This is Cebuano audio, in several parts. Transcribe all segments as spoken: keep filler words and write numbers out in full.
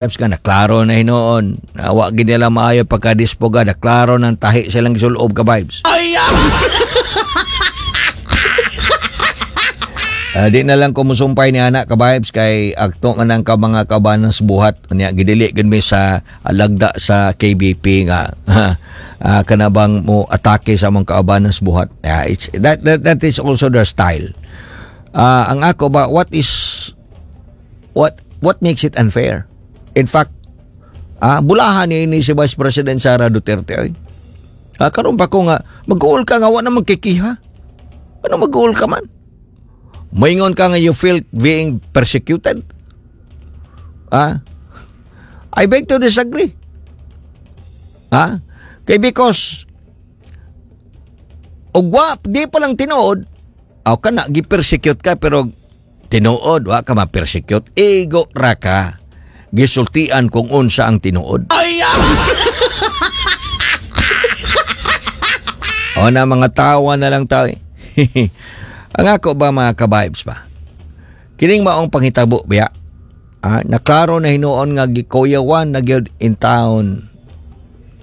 Nga naklaro na hinuon. Wa gid nila maayo pagkadispoga, naklaro ng tahi silang gisulob ka vibes. Ay! Ah, di na lang ko musumpay ni anak ka vibes kay akto man ang ka mga kabanas buhat niya gidili gid mi sa lagda sa K B P nga ah, kanabang mo atake sa among kaubanas buhat. Yeah, it's that, that that is also their style. Ah, ang ako ba, what is what what makes it unfair? In fact, ah bulahan ni ni si Vice President Sara Duterte oy. Ah, karon pa ko nga mag-uol ka nga wa na magkikiha. Ano mag-uol ka man? Moingon ka nga you feel being persecuted? Ah? I beg to disagree. Ah? Kay because ug wa di pa lang tinuod, aw kana gi-persecute ka, pero tinuod wa ka ma-persecute, igo ra ka gisultian kung unsa ang tinuod. Ay! O na mga tawa na lang tao eh. Ang ako ba, mga ka-vibes ba? Kining maong panghitabo biya. Ah, naklaro na hinuon nga gikuyawan na gyud in town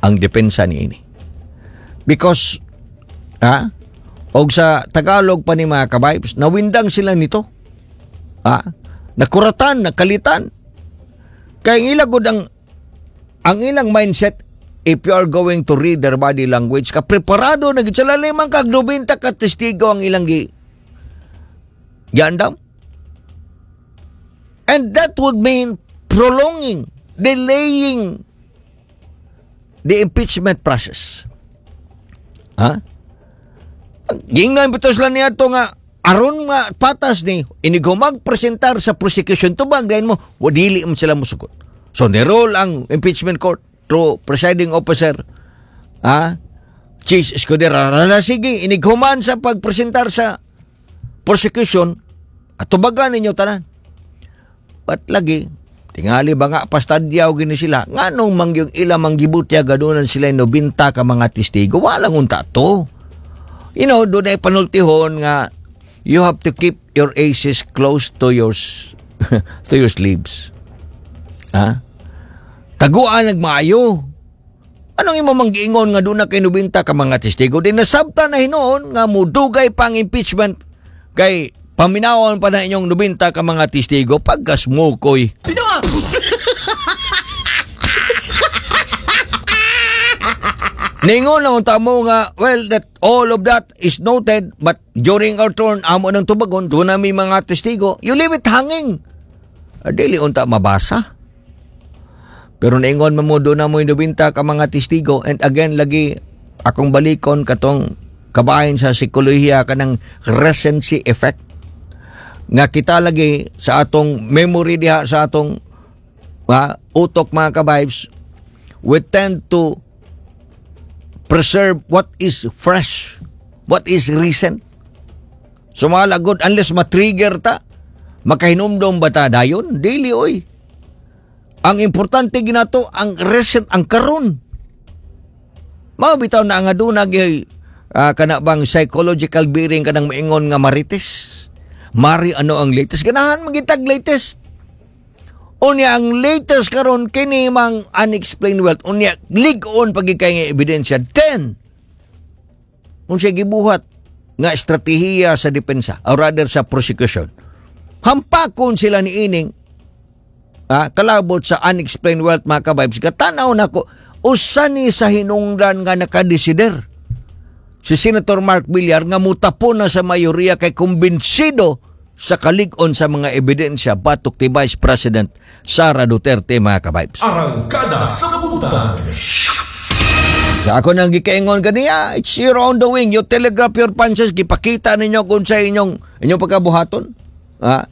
ang depensa niini. Because ah, og sa Tagalog pa ni mga ka-vibes, nawindang sila nito. Ah, nakuratan, nakalitan. Kay ang ilang gud ang ang ilang mindset, if you are going to read their body language, ka preparado na gid sila, limang kag nobenta ka testigo ang ilang gi giandam. And that would mean prolonging, delaying the impeachment process. Ha? Gingnan bitaw sila niya to nga aron nga patas ni inig magpresentar sa prosecution, tubag gayon mo, wa dili man sila musugot. So ni-roll ang impeachment court through presiding officer ah Chiz Escudero na, sige, inighuman sa pagpresentar sa prosecution at tubagan ninyo tanan. But lagi, tingali ba nga pastadyaw gini sila, nganong mangyong ila manggibutya gadunan sila nobenta ka mga testigo, walang unta to. You know, doon ay panultihon nga you have to keep your aces close to your s- to your sleeves. Ha? Taguan nagmaayo. Anong imo manggiingon nga doon na kay nobenta ka mga testigo? Di nasabta na hinuon nga mudugay pang impeachment kay paminawon pa na inyong nobenta ka mga testigo pagkasmukoy. Bitaw! Ningon lang ang tamo nga, well, that all of that is noted, but during our turn, amo ng tubagon, doon na may mga testigo, you leave it hanging. Ah, dili unta mabasa. Pero naingon mo mo, doon na mo nobenta ka mga testigo, and again, lagi, akong balikon katong kabahin sa psikolohiya kanang recency effect. Nga kita lagi sa atong memory diha sa atong ah, utok, mga ka-vibes, we tend to preserve what is fresh, what is recent. So mga lagod, unless matrigger ta, makahinumdom ba ta dayon? Dili oy. Ang importante ginato, ang recent, ang karon. Mao bitaw na nga doon uh, kana bang psychological bearing kanang maingon nga marites. Mari ano ang latest? Ganahan magitag latest. Unya ang latest karon kini mang unexplained wealth. Unya lig-on pagi kay nga ebidensya. Then unsay gibuhat nga estratehiya sa depensa or rather sa prosecution? Hampakon sila ni ining ah, kalabot sa unexplained wealth, mga ka-vibes. Katanaw nako usa ni sa hinungdan nga nakadesider si Senator Mark Villar nga mutapon na sa mayoriya kay kumbinsido sa kalig-on sa mga ebidensya batok ti Vice President Sara Duterte, mga ka-vibes. Arangkada sa Butan. Sa ako nang gikaingon kaniya, it's your own doing. You telegraph your punches, gipakita ninyo kung sa inyong inyong pagkabuhaton. Ha?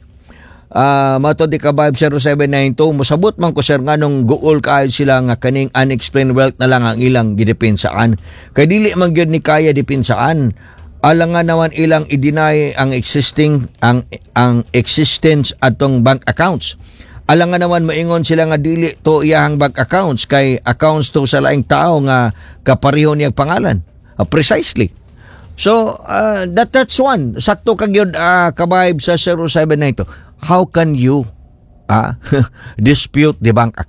Ah, mato di ka vibe zero seven nine two, mosabot man ko, sir, nganong guol kaayo sila nga kaning unexplained wealth na lang ang ilang gidepensaan kay dili man gyud ni kaya depensaan, alangan naman ilang i-deny ang existing ang ang existence atong bank accounts. Alangan naman maingon sila nga dili to iyahang bank accounts kay accounts to sa laing tao nga kapareho niyang pangalan. Ah, precisely. So, uh, that that's one. Sakto ka gyud uh, ka-vibe sa zero seven nine two. How can you ah, dispute the bank account.